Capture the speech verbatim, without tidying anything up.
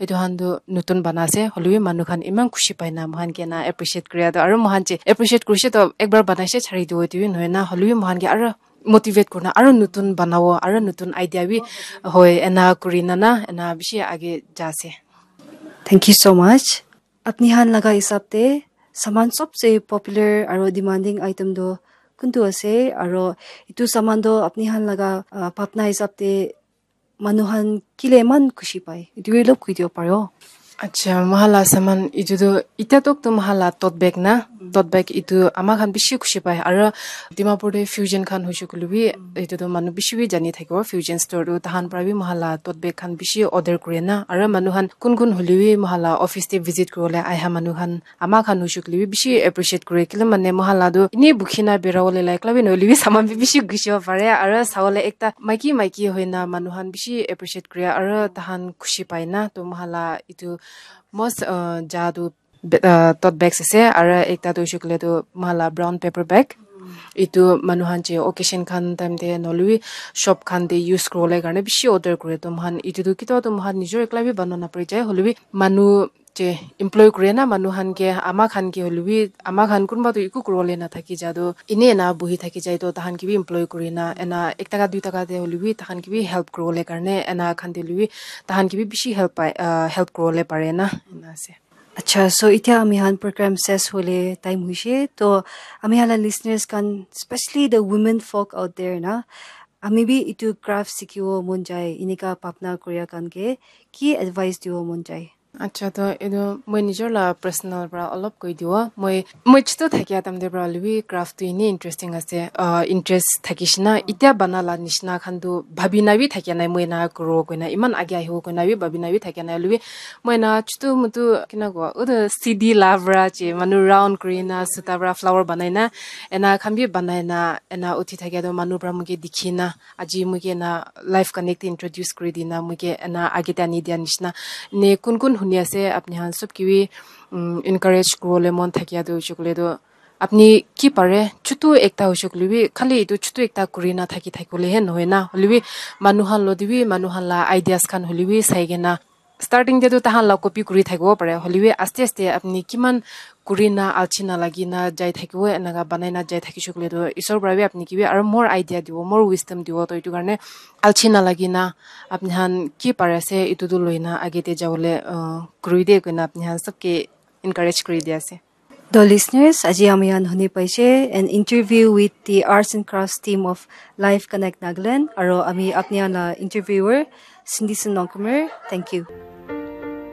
Etu khan tu notun bana ase, hoilebi manu khan eman khushi pai na, moikhan ke na appreciate kuri ase. Aru moikhan je appreciate kurise to ekbar banai se chari dibo, etu bi nohoi na, hoilebi moikhan ke aru motivate kurina, aru notun banabo, aru notun idea bi hoi, ena kurina na, ena bishi age ja ase. Thank you so much. Apni khan laga hisab te saman sobse popular aru demanding item tu kuntu ase, aru etu saman tu apni khan laga, ah, bhabna hisab te manu khan kile eman khushi pai, etu bi olop koi dibo paribo? Acha, moikhan la saman etu tu, itya tok tu moikhan la tote bag na, tote bag etu ama khan bishi khushi pai, aru Dimapur te fusion khan hoise koile bi, etu tu manu bishi bi jani thakibo, fusion store tu tahan para bi moikhan la tote bag khan bishi order kure na, aru manu khan kun kun hoile bi moikhan la office te visit kuribole aha manu khan, ama khan hoise koile bi bishi appreciate kure, kile mane moikhan la tu ene bukhi na bera wole la ekla bi nohoile bi saman bi bishi gusibo pare, aru sawole ekta maiki maiki hoina manu khan bishi appreciate kure, aru tahan khushi pai na, to moikhan la etu most, uh, ja tu be-, uh, tote bags ase, aru ekta tu hoise koile tu moikhan la brown paper bag, etu manu khan je occasion khan time te nohoile bi shop khan te use kuribole karne bishi order kure, to moikhan etu tu kitab tu moikhan nijor ekla bi bana napari jai, hoile bi manu je employ kure na manu khan ke, ama khan ke hoile bi, ama khan kunba tu eku kuribole na thaki ja tu, ene ena buhi thaki jai to tahan ke bi employ kuri na, ena ek taka dui taka te hoile bi tahan ke bi help kuribole karne, ena khan te hoile bi tahan ke bi bishi help pai, ah, help kuribole pare na, ena ase. Acha, so itya ami khan program ses hole time hoise, to ami khan la listeners khan, especially the women folk out there na, ami bi etu craft sikhibo mon jai, enika bhabna kuria khan ke ki advice dibo mon jai? Acha, to etu moi nijor la personal para olop koi dibo. Moi, moi chutu thakia time te para hoile bi craft tu ene interesting ase, ah, interest thakishe na, itya bana la nishina khan tu bhabi na bi thakia nai, moi ena kuribo koina, eman age ahibo koina bi bhabi na bi thakia nai, hoile bi moi ena chutu mutu kina kobo, utu C D la para je manu round kuri na, suta para flower banai na, ena khan bi banai na, ena uthi thakia tu manu para moi ke dikhi na, aji moi ke ena live connect te introduce kuri di na, moi ke ena age te ani dia nishina. Ne kun kun huni ase, apni khan sob ke bi, um, encourage kuribole mon thakia tu hoise koile tu, apni ki pare, chutu ekta hoise koile bi, khali etu chutu ekta kuri na thaki thaki bole he nohoi na, hoile bi manu khan lo te bi, manu khan la ideas khan hoile bi sai kena, starting te tu tahan la copy kuri thakibo pare, hoile bi aste aste apni kiman kuri na alchi na lagi na jai thakibo, enaka banai na jai thakishe koile tu, Isor para bi apni ke bi aru more idea dibo, more wisdom dibo. To etu karne alchi na lagi na apni khan ki pare ase, etu tu loi na age te jabole, uh, kuri de koina apni khan sob ke encourage kuri di ase. To listeners, aji ami khan huni paise an interview with the Arts and Crafts team of Life Connect Nagaland, aro ami apni khan la interviewer Cindy Sen Longkumer. Thank you.